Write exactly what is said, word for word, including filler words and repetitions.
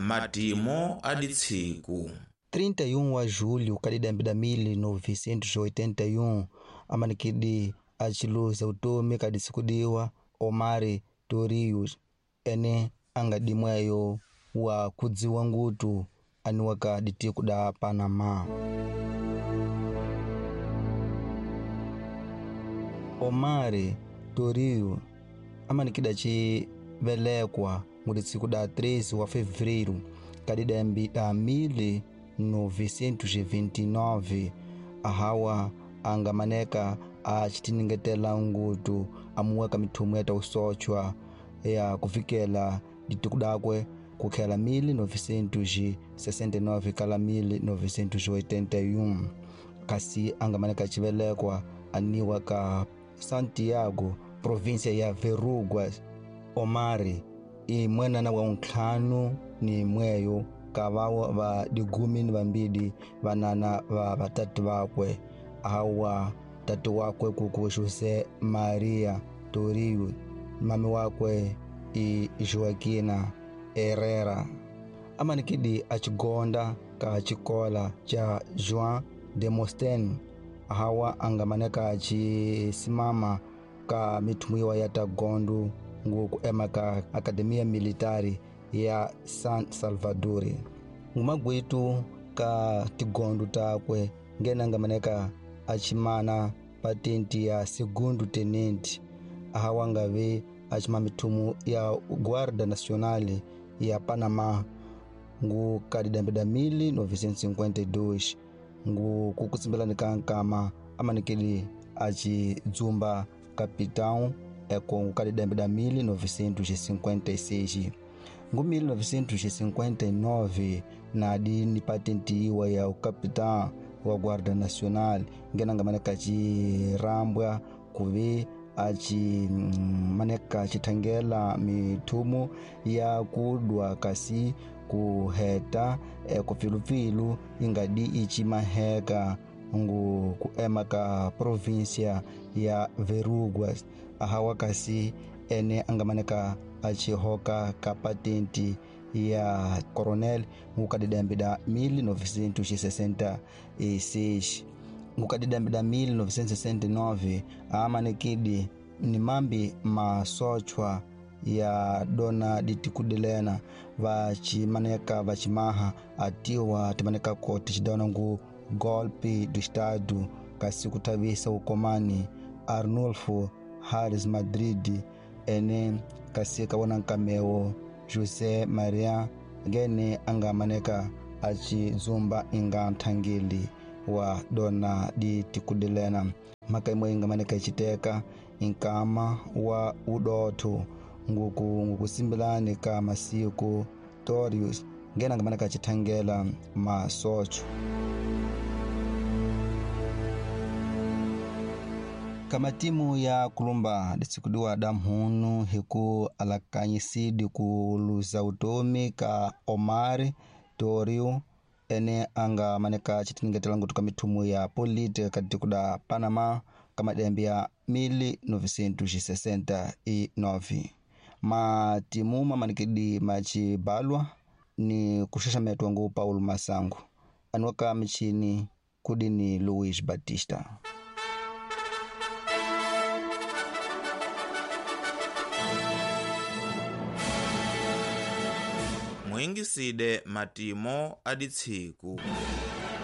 Matimo a ditsiku trinta e um a julho kadidambi da mil novecentos e oitenta e um amanikidi achiluza utomi kadisikudiwa Omar Torrijos ene angadimweyo wa kudziwa ngutu aniwaka ditiku da Panama. Omar Torrijos amanikida chivelekwa muditsiku da treze wa fevereiro kadidambi da mil novecentos e vinte e nove ahawa angamaneka achitiningetela ngutu amuweka mithumu ya usochwa ya kufikela ditiku dakwe kukhela mil novecentos e sessenta e nove kala mil novecentos e oitenta e um kasi angamaneka chivelekwa aniwa ka Santiago província ya Verrugas. Omar i mwenana wa ntlhanu ni mweyo kavawo va digumi ni vambili vanana va vatatu vakwe awa tatu wakwe kuku José Maria Torrijos, mami wakwe i Joaquina Herrera. Amanikidi achigonda ka chikola cha Juan Demosthene ahawa angamaneka achisimama ka mithumuiwa ya tagondu nguku ema ka Academia Militari ya San Salvador. Ngumagwitu ka tigondu takwe ngena ngamaneka achimana patenti ya segundo tenente ahawa ngave achima mithumu ya Guarda Nacional ya Panama ngu kadidambi mil novecentos e cinquenta e dois ngu kukutsimbelani ka nkama amanikeli achidzumba capitão eko ngu kadidambi mil novecentos e cinquenta e seis. Ngu mil novecentos e cinquenta e nove na dini patente iwa ya capitão wa Guarda Nacional ngena ngamaneka chirambwa kuve achi maneka chithangela mithumu ya kudwa kasi kuheta ekupfilupilu ingadi ichimaheka ngu kuema ka província ya Verrugas ahawa kasi ene angamaneka achihoka ka patente ya coronel ngukadidambi da mil novecentos e sessenta e seis. Ngukadidambi da mil novecentos e sessenta e nove amanekidi ni mambi masochwa ya dona ditikudelena vachimaneka vachimaha atiwa timaneka ko tichidona ngu golpe do estado kasi kutavisa ukomani Arnulfo Harris Madrid ene kasi kawona nkameo José Maria ngene angamaneka achidzumba inga nthangeli wa dona ditikudelena maka imwe ingamaneka ichiteka inkama wa udotho nguku ngukusimbelani ka masiku Torrijos ngena angamaneka achithangela masocho. Kama timu ya kulumba disikudiwa damhunu hiku alakanyisidi kuluza utomi ka Omar Torrijos ene anga maneka chitingetela ngutu ka mithumu ya politika katikuda Panama kama dembi ya mil novecentos e sessenta e nove. Matimu mamanikidi machibalwa ni kushashametwa ngu Paulo Masango anuka michini kudini Luis Batista. Mwingiside matimo aditsiku.